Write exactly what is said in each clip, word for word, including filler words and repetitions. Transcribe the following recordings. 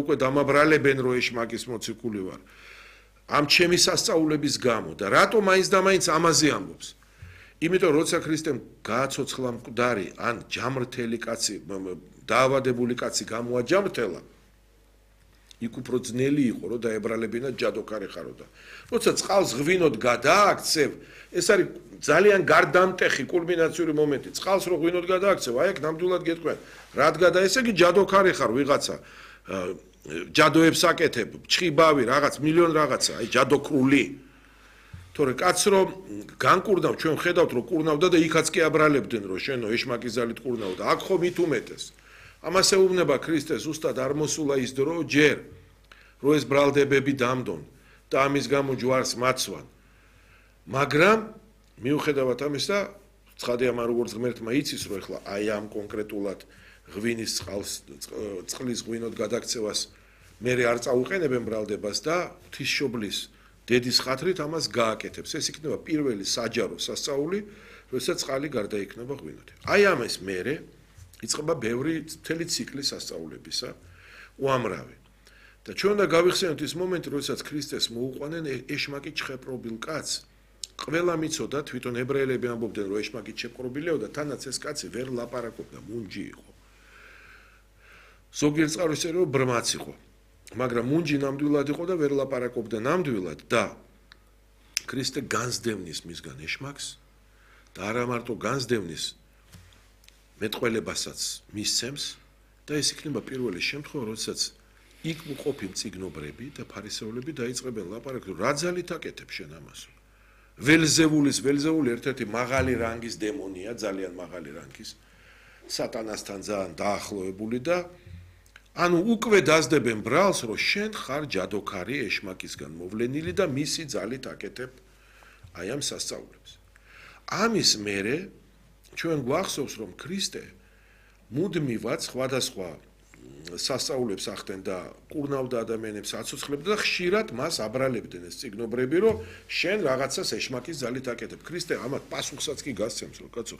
უკვე დამაბრალებენ რომ ეშმაკის მოციქული ვარ ამ ჩემი სასწაულების გამო და რატომ მაინც და მაინც ამაზე ამბობს იმიტომ როცა ქრისტემ გააცოცხლა მკვდარი ან ჯამრთელი კაცი დაავადებული კაცი გამოაჯამრთელა იქ უფრო ძნელი იყო რომ დაებრალებინა ჯადოქარი ხაროდა როცა წყალს ღვინოდ გადააქცევ ეს არის ძალიან გარდამტეხი კულმინაციური მომენტი წყალს რო ღვინოდ გადააქცევ აი აქ ნამდვილად გეტყვიან რად გადა ესე იგი ჯადოქარი ხარ ვიღაცა ჯადოებს აკეთებ ჩხიბავი რაღაც მილიონ რაღაცა აი ჯადოქრული თორე კაც რომ განკურნავ ჩვენ ხედავთ რომ კურნავდა და იქაც კი აბრალებდნენ რომ შენო ეშმაკის ძალით კურნავდა აქ ხო მით უმეტეს ამას ეუბნება ქრისტე ზუსტად არ მოსულა ის დრო ჯერ რომ ეს ბრალდებები დამდონ და ამის გამო ჯვარს მაცვან მაგრამ მიუხედავად ამისა ცხადია მან როგორც ღმერთმა იცის რომ ეხლა აი ამ კონკრეტულად ღვინის წყალს წყლის ღვინოდ გადაქცევას მე არ წაუყენებენ ბრალდებას და ღვთისმშობლის დედის ხათრით ამას გააკეთებს ეს იქნება პირველი საჯარო სასწაული როცა წყალი გარდაიქმნება ღვინოთი აი ამას მერე იწყება ბევრი მთელი ციკლი სასწაულებისა უამრავი და ჩვენ უნდა გავიხსენოთ ის მომენტი როდესაც ქრისტეს მოუყვანენ ეშმაკი ჩხეპრობილ კაცს ყველა მიცოდა თვითონ ებრაელები ამბობდნენ რომ ეშმაკი ჩეპყრობილიო და თანაც ეს კაცი ვერ ლაპარაკობდა მუნჯი იყო ზოგიერთ წყაროს წერია რომ ბრმაც იყო მაგრამ მუნჯი ნამდვილად იყო და ვერ ლაპარაკობდა ნამდვილად და ქრისტე განსდევნის მისგან ეშმაკს და არა მარტო განსდევნის მეტყველებასაც მისცემს და ეს იქნება პირველი შემთხვევა როდესაც იქ მყოფი მწიგნობრები და ფარისევლები დაიწყებენ ლაპარაკს რა ძალით აკეთებ შენ ამას ველზევულის ველზეული ერთ-ერთი მაღალი რანგის დემონია ძალიან მაღალი რანგის სატანასთან ძალიან დაახლოებული და ანუ უკვე დაძდებენ ბრალს რომ შენ ხარ ჯადოქარი ეშმაკისგან მოვლენილი და მისი ძალით აკეთებ აი ამ სასწაულებს ამის მერე ჩვენ გვახსოვს რომ ქრისტე მუდმივად სხვადასხვა სასწაულებს ახდენ და კურნავდა ადამიანებს აცოცხლებდა და ხშირად მას აბრალებდნენ ეს წიგნობრები რომ შენ რაღაცას ეშმაკის ძალით აკეთებ ქრისტე ამათ პასუხსაც კი გასცემს რომ კაცო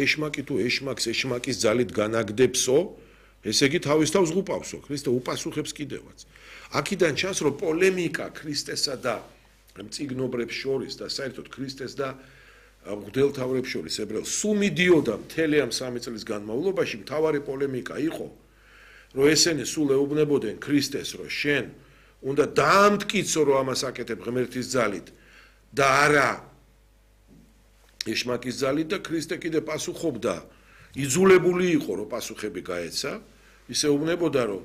ეშმაკი თუ ეშმაკს ეშმაკის ძალით განაგდებსო ესე იგი თავის თავს ღუპავსო ქრისტე უპასუხებს კიდევაც აქედან ჩანს რომ პოლემიკა ქრისტესა და წიგნობრებს შორის და საერთოდ ქრისტეს და მღვდელმთავრებს შორის ებრაელს სულ მიდიოდა მთელი ამ სამი წლის განმავლობაში მთავარი პოლემიკა იყო რომ ესენი სულ ეუბნებოდნენ ქრისტეს რომ შენ უნდა დაამტკიცო რომ ამას აკეთებ ღმერთის ძალით და არა ეშმაკის ძალით და ქრისტე კიდე პასუხობდა იძულებული იყო რომ პასუხები გაეცა ის ეუბნებოდა რომ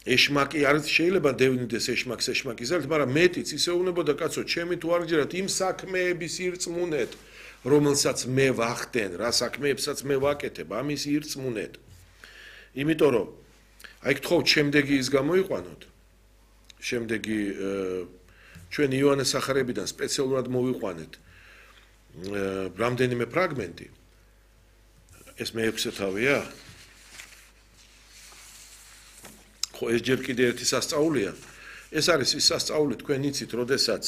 ეშმაკი არ შეიძლება დევნიდეს ეშმაკს ეშმაკის ძალით მაგრამ მეტიც ის ეუბნებოდა კაცო ჩემი თუ არ გჯერათ იმ საქმეების ირწმუნეთ რომელსაც მე ვახდენ რა საქმეებსაც მე ვაკეთებ ამის ირწმუნეთ იმიტომ რომ აი გთხოვთ შემდეგი ის გამოიყვანოთ შემდეგი ჩვენ იოანეს სახარებიდან სპეციალურად მოვიყვანეთ რამდენიმე ფრაგმენტი ეს მეექვსე თავია ხო ეს ჯერ კიდე ერთი სასწაულია ეს არის ის სასწაული თქვენ იცით როდესაც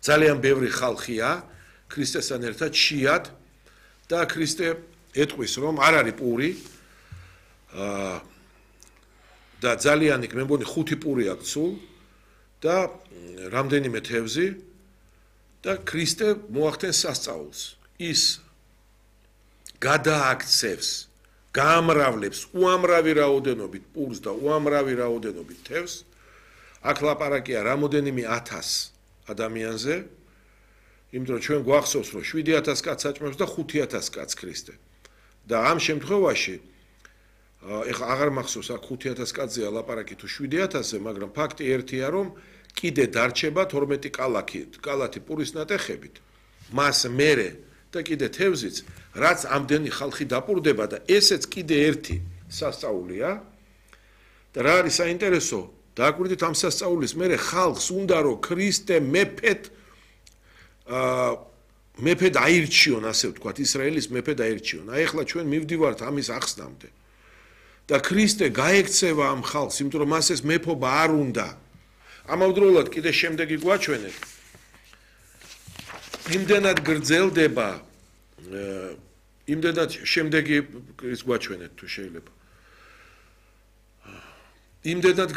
ძალიან ბევრი ხალხია ქრისტესთან ერთად შიად და ქრისტე ეტყვის რომ არ არის პური და ძალიან იქ მე მგონი ხუთი პური აქვს სულ და რამდენიმე თევზი და ქრისტე მოახდენს სასწაულს ის გადააქცევს გაამრავლებს უამრავი რაოდენობით პურს და უამრავი რაოდენობით თევზს აქ ლაპარაკია რამოდენიმე ათას ადამიანზე იმიტომ რომ ჩვენ გვახსოვს რომ შვიდი ათას კაცს აჭმევს და ხუთი ათას კაცს ქრისტე და ამ შემთხვევაში ეხლა აღარ მახსოვს აქ ხუთი ათას კაცზეა ლაპარაკი თუ შვიდი ათასზე მაგრამ ფაქტი ერთია რომ კიდე დარჩება თორმეტი კალათი კალათი პურის ნატეხებით მას მერე და კიდე თევზიც რაც ამდენი ხალხი დაპურდება და ესეც კიდე ერთი სასწაულია და რა არის საინტერესო დააკვირდით ამ სასწაულის მერე ხალხს უნდა რომ ქრისტე მეფედ აა მეფედ აირჩიონ ასე ვთქვათ ისრაელის მეფედ აირჩიონ აი ახლა ჩვენ მივდივართ ამის ახსნამდე და ქრისტე გაექცევა ამ ხალხს იმიტომ რომ მას ეს მეფობა არ უნდა ამავდროულად კიდე შემდეგი გვაჩვენეთ იმდენად გრძელდება იმდენად შემდეგი ის გვაჩვენეთ თუ შეიძლება იმდენად